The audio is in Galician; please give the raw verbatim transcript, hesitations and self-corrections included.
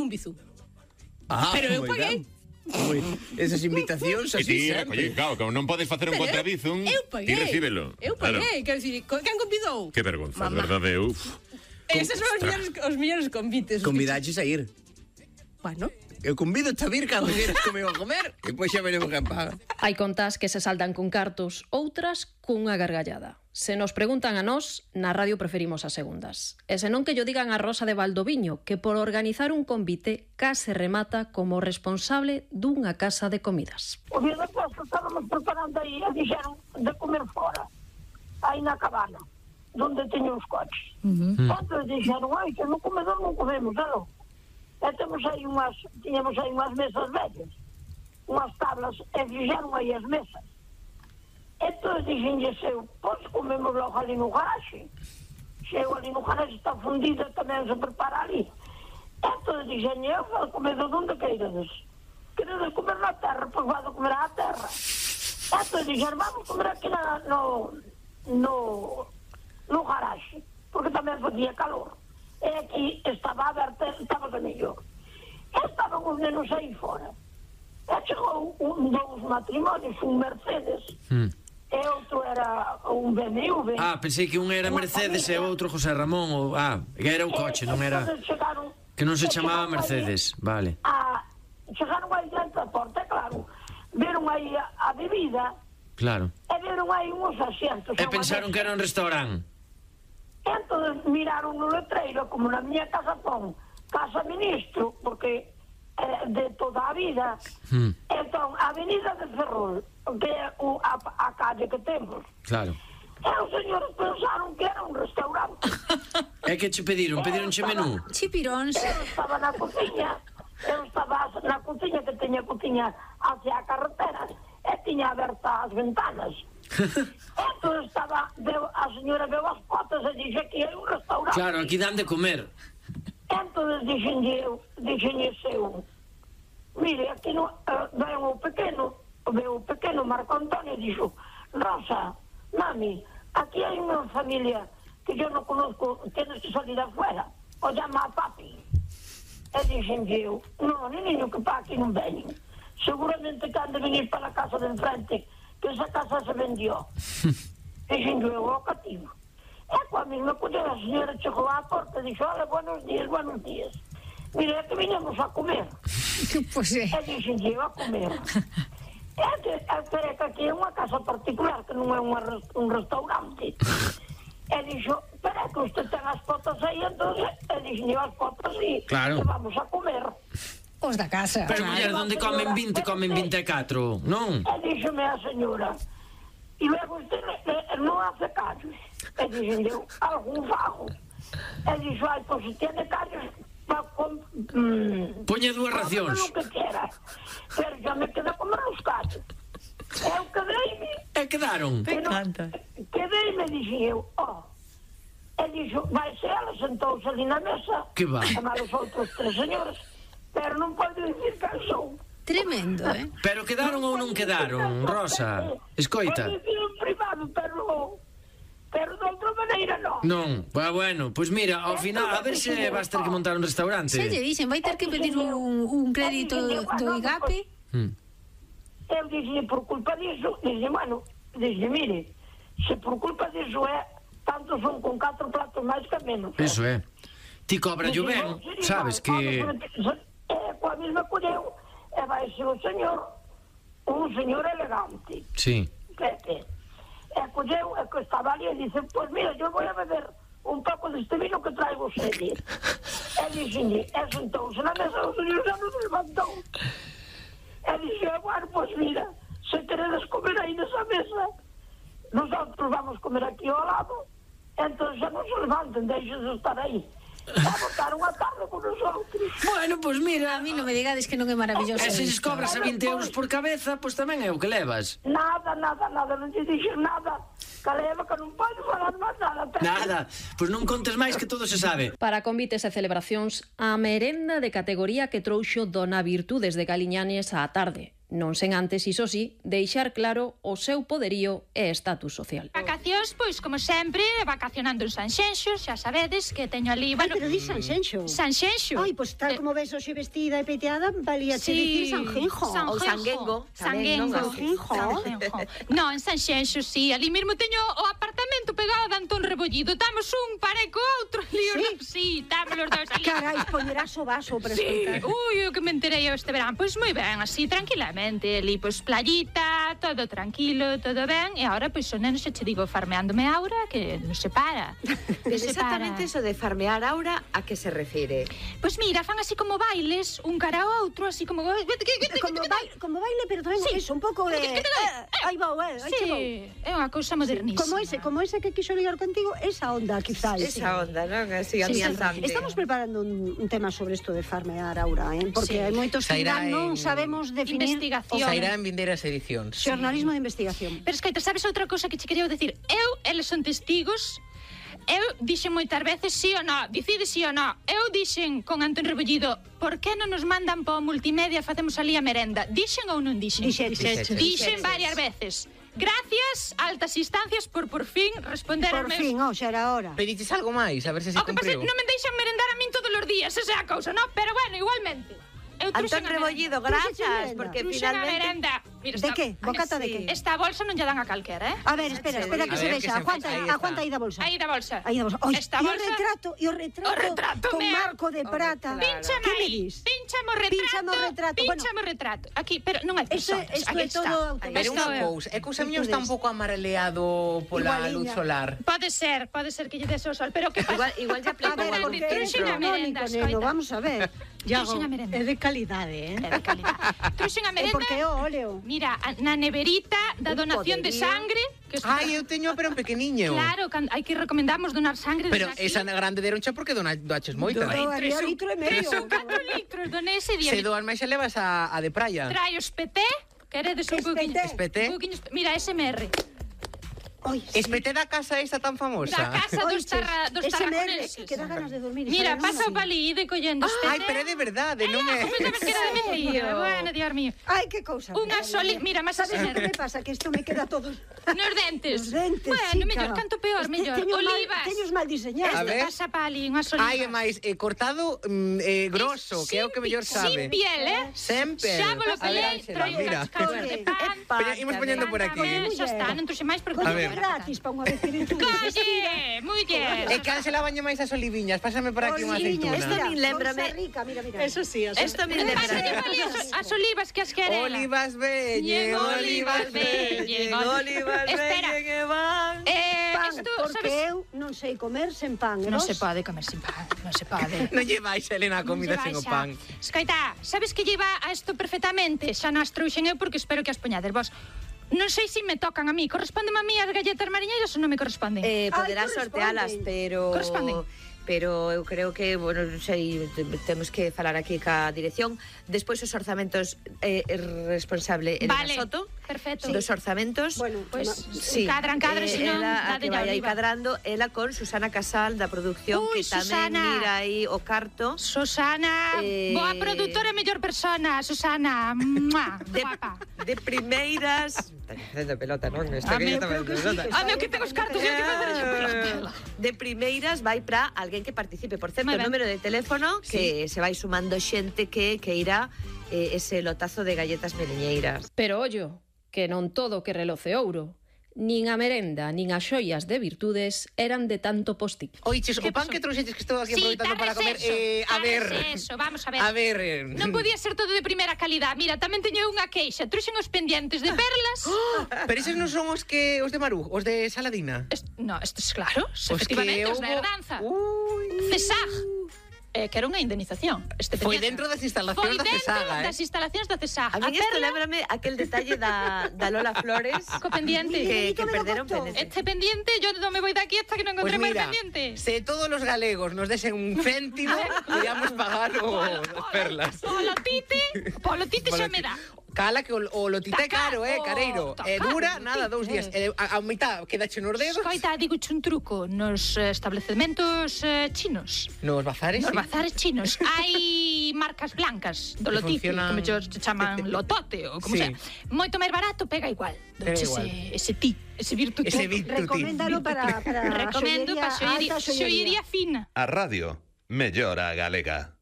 un bizú. Ah, pero eu moi paguei. ben. Moi, esas invitacións E así ti, sempre. claro, como non podes facer un Pero contrabizum, eu paguei. ti recíbelo. Eu paguei, quero dicir, co- quen convidou? Que vergonza, Mamá. verdade, uf. Eses son os millores, os millores convites. os que- Convidaches a ir. Bueno, Eu convido a vir cando queres comigo a comer e depois xa veremos quen paga. Hai contas que se saldan con cartos, outras cunha gargallada. Se nos preguntan a nós, na radio preferimos as segundas. E senón que yo digan a Rosa de Valdoviño, que por organizar un convite case remata como responsable dunha casa de comidas. O día da festa estábamos preparando aí e dixeron de comer fora, aí na cabana, onde teño os coches. Entón dixeron, ai, que no comedor non comemos, non? E temos aí unhas, tiñamos aí unhas mesas vellas, unhas tablas, e fixeron aí as mesas. Entón dixenlle eu, pois comemos logo ali no garaxe. Se eu ali no garaxe está fundida, tamén se prepara ali. Entón dixenlle eu, vou comer de onde queirades. Queredes comer na terra, pois vado comer á terra. Entón dixeron, vamos comer aquí na, no, no, no garaxe, porque tamén facía calor. E aquí estaba aberta, estaba de mellor. E estaban os nenos aí fora. E chegou un dous matrimonios, un Mercedes, Mm. e outro era un B M W. Ah, pensei que un era Mercedes e outro José Ramón ou... Ah, que era o coche, non era... Chegaron, Que non se chamaba chegaron Mercedes, vale. A, chegaron aí diante da porta, claro. Viron aí a, a bebida Claro. e viron aí uns asientos. E pensaron que era un restaurante. Entón miraron no letreiro, como na miña casa pon Casa Ministro, porque é de toda a vida. Mm. Entón, a Avenida de Ferrol, que é o, a, a calle que temos. Claro. E os señores pensaron que era un restaurante. E que che pediron? Pedironche menú? chipiróns. Eu estaba na cociña, eu estaba na cociña, que teña cociña hacia a carretera, e tiña abertas as ventanas. Entón estaba, veo, a señora veo as fotos e dixe que é un restaurante. Claro, aquí dan de comer. Entón dixenlle eu, dixenlle eu, mire, aquí no, uh, veo o pequeno, veo o pequeno Marco Antonio e dixo, Rosa, mami, aquí hai unha familia que yo non conozco, tienes que salir afuera, o llama a papi. E dixenlle eu, non, niño, que pa aquí non veñen. Seguramente que han de venir para a casa de enfrente, que esa casa se vendió. Dixenlle eu ao cativo. E coa mesma colla a señora chegou á porta e dixo, hola, buenos días, buenos días. Mire, é que viñamos a comer. Pois é. E dixenlle eu a comer. É que, é que aquí é unha casa particular, que non é unha, un restaurante. E dixo, pero é que usted ten as fotos aí, entón, e dixenlle as fotos e Claro. vamos a comer. Os da casa. Pero, muller, onde comen vinte, comen vinte e catro, non? E díxome a señora, e logo usted eh, non hace callos. E dixenlle eu, algún fago. E dixo, ai, pois se tiene callos, pa, com, mm, Poñe dúas cómelo racións. lo que quiera. Pero xa me queda comer os callos. Eu quedeime, E quedaron. pero quedeime, dixen eu, oh. E dixo, vai ser, ela sentouse ali na mesa, Que va. a chamar os outros tres señores, pero non pode dicir que son. Tremendo, eh? Pero quedaron ou non quedaron, Rosa? Escoita. Pode dicir en privado, pero... Pero de outra maneira non. Non, pues bueno, pois pues mira, ao final, a ver se vas ter que montar un restaurante. Se lle dixen, vai ter que pedir un, un crédito do IGAPE. Mm. Eu dixen, por culpa disso, dixen, bueno, dixen, mire, se por culpa disso é, tanto son con catro platos máis que menos. Eso é. Ti cobra yo ben, sabes que... É, coa mesma colleu, e vai ser o señor, un señor elegante, Sí. Pepe. E colleu, e que estaba ali, e dice, pois mira, yo voy a beber un pouco deste vino que traigo sede. E dixenlle, e sentouse na mesa, o señor xa non se levantou. E dixe, bueno, pois mira, se queredes comer aí nesa mesa, nosotros vamos comer aquí ao lado, entón xa non se levanten, deixen de estar aí. E botaron a tarde con nosotros. Bueno, pois pues mira... A mí non me digades que non é maravilloso. E se lles isto. cobras a vinte euros por cabeza, pois pues tamén é o que levas. Nada, nada, nada, non te dixen nada. Caleva que non pode falar máis nada. Nada, pois pues non contes máis que todo se sabe. Para convites e celebracións, a merenda de categoría que trouxo Dona Virtudes de Galiñanes á tarde. Non sen antes, iso sí, deixar claro o seu poderío e estatus social. Vacacións, pois, como sempre, vacacionando en Sanxenxo, xa sabedes que teño ali... Ai, Bueno, pero di Sanxenxo. Sanxenxo. Ai, pois tal como ves hoxe vestida e peteada, valía che dicir Sanjenjo. Ou Sanguengo, tamén, non? Sanguengo. Sanguengo. No, en Sanxenxo, sí. Ali mesmo teño o apartamento pegado de Antón Rebollido. Damos un pare co outro ali. Sí? Sí, damos os dous ali. Carai, poñerás o vaso para Sí, escoitar. ui, o que me enterei eu este verán. Pois moi ben, así, tranquilamente. Ali, pois, playita, todo tranquilo, todo ben. E agora, pois, o neno xa che digo, farmeándome Aura, que non se para. Pero exactamente eso de farmear Aura, a que se refire? Pois mira, fan así como bailes, un cara ao outro, así como... Como, baile, como baile, pero tamén Sí. eso, un pouco de... Eh, aí vou, eh, aí che vou. Sí, é unha cousa modernísima. Como ese, como ese que quixo ligar contigo, esa onda, quizás. Esa onda, non? Así, amianzante. Estamos preparando un, un tema sobre isto de farmear Aura, eh? Porque Sí. hai moitos que Sairá ainda non en- sabemos definir Investigación. Sairá en vindeiras edicións. xornalismo de investigación. Pero escoita, sabes outra cousa que che quería decir? Eu, eles son testigos. Eu dixen moitas veces sí ou non, dicide sí ou non. Eu dixen con Antón Rebollido, por que non nos mandan para o multimedia, facemos ali a merenda? Dixen ou non dixen? Dixeches. Dixeches. Dixen varias veces. Gracias, altas instancias, por por fin responder Por aos meus... fin, oh, xa era hora. Pediches algo máis, a ver se se O que pasa é cumpriu. que non me deixan merendar a min todos os días, esa é a cousa, non? Pero bueno, igualmente. Eu Antón trouxen a Rebollido, merenda. gracias, merenda. porque Trouxen a finalmente... merenda. Mira, De esta- que? Bocata de sí. que? Esta bolsa non lle dan a calquera, eh? A ver, espera, espera que A se ver, vexa. que se Aguanta, vexa, aí aguanta está. aí da bolsa. Aí da bolsa. Aí da bolsa. Oi, Esta e o bolsa... retrato, e o retrato, O retrato, con mea. marco de prata. claro. Pínchame Que me aí, dis? pínchame o retrato, Pínchame o retrato, bueno. pínchame o retrato. Aquí, pero non hai Isto, personas, isto aquí é está. todo Pero automático. Isto unha é- cousa, é que o Samiño está un pouco amareleado pola Igualiña. luz solar. Pode ser, pode ser que lle des o sol, pero que pasa? Igual, igual ya A aplicou ver, algún porque eres Trouxen a filtro. merenda, canónico, neno, escoita. vamos a ver. Trouxen a merenda. É de calidade, eh? É de calidad. Trouxen a É merenda. porque é o óleo. Mira, a- na neverita da Un donación de poderío. sangre, que isto- Ai, eu teño pero un pequeniño. Claro, can- hai que recomendamos donar sangre. Pero desde aquí. esa na grande deroncha porque dona doaches moita. Do había litro e medio. Son catro litros, doné ese día. Se doan máis xa levas a, a de praia. Trae os P T, queredes un Que pouquiño. espeté? Espeté? Un pouquiño espe- Mira, S M R. Oi, sí. Espeté da casa esa tan famosa. Da casa dos, Oiches, tarra, dos ese merre, tarraconeses. que dá ganas de dormir. Mira, sabe, non? pasa o palí, ide collendo espeté. Ai, pero é de verdade, non é. Ah, pensabas que era de mentira. Bueno, Dios mío. Ai, que cousa. Unha soli... Mira, máis Sabes S M o que R. me pasa? Que isto me queda todo... Nos dentes. Os dentes, Bueno, chica. mellor, canto peor, Este mellor. teño mal- Olivas. Teños mal diseñados. A Este ver. pasa pali, unhas olivas. Ai, é máis, eh, cortado mm, eh, grosso, que é o que mellor sabe. Sin piel, eh? Sempre. Xa vos lo A ver, pelei, Ángela, traio mira. unhas causas de pan. Poña- imos poñendo por aquí. Pan, Xa está, non trouxe máis porque... A ver. Coño, gratis para unha vez que virtud. Calle, muller. E can se la baña máis as oliviñas, pásame por aquí unha Oliviña, aceituna. Esto a min lémbrame- bolsa rica, mira, mira. Eso sí, eso Esto me Pásate lembra... pali as, as olivas que as querela. Olivas veñen, olivas veñen. olivas Espera. veñen e van... Eh, Pan, esto, porque sabes... eu non sei comer sen pan. e Non vos? se pode comer sin pan, non se pode. Non lleváis, Elena, a comida Non sen o llevais pan. a- Escoita, sabes que lleva a isto perfectamente? Xa non as trouxen eu porque espero que as poñades vos. Non sei se me tocan a mí. Correspondeme a mí as galletas mariñeiras ou non me corresponden? Eh, poderás Ai, sortealas, corresponden. pero... Corresponden. Pero eu creo que, bueno, non sei, te- temos que falar aquí ca dirección. Despois os orzamentos eh, é responsable Elena Vale, Soto. perfecto. Dos orzamentos. Bueno, Pois, Sí, cadran, cadran, eh, senón, ela, a que dádelle a vai aí oliva. cadrando, ela con Susana Casal da producción, Ui, que tamén Susana. mira aí o carto. Susana, Eh, boa produtora e mellor persona, Susana. Mua, De, guapa. de primeiras... Está facendo pelota, non? Está A mí, que está creo facendo que sí, pelota. que Ah, meu, que ten os cartos e eu que facer esa pelota. De primeiras vai para alguén que participe. Por certo, Moi o ben. número de teléfono que se vai sumando xente que que irá eh, ese lotazo de galletas meliñeiras. Pero ollo, que non todo que reloce ouro. Nin a merenda, nin as xoias de virtudes eran de tanto posti. Oiches, o Que pan pasou? que trouxeches que estou aquí Sí, aproveitando para tardes comer, eso, eh, a ver. tardes eso, vamos a ver. A ver. eh, Non podía ser todo de primeira calidad. Mira, tamén teño unha queixa. Truxen os pendientes de perlas. Pero eses non son os que os de Maru, os de Saladina. Est- no, esto es claro. Os Efectivamente, que os da houbo- herdanza. Ui. CESAG. Eh, que era unha indemnización. Este Foi pendiente. dentro das instalacións Foi da dentro CESAG, eh. das instalacións da CESAG. A mí isto lembrame aquel detalle da, da Lola Flores Co pendiente. que, que Miguelito me lo perderon contó. pendiente. Este pendiente, yo non me voy de aquí hasta que non Pues encontremos mira, el pendiente. se todos los galegos nos desen un céntimo, podíamos pagar os as perlas. Polo tite, polo tite xa me dá. Cala que o, o lotita é caro, eh, careiro. Tá E caro, dura, nada, dous días. E a, a mitad quedache nos dedos. Escoita, digo un truco nos eh, establecementos eh, chinos. Nos bazares, Nos sí. bazares chinos hai marcas blancas do Que lotite, funcionan- como ellos se chaman lotote ou como Sí. sea. Moito máis barato, pega igual. Pega Doche igual. ese, ese ti, ese virtuti. Ese virtuti. Recoméndalo para, para Recomendo xollería para xollería, alta, xollería xollería fina. A radio mellora a galega.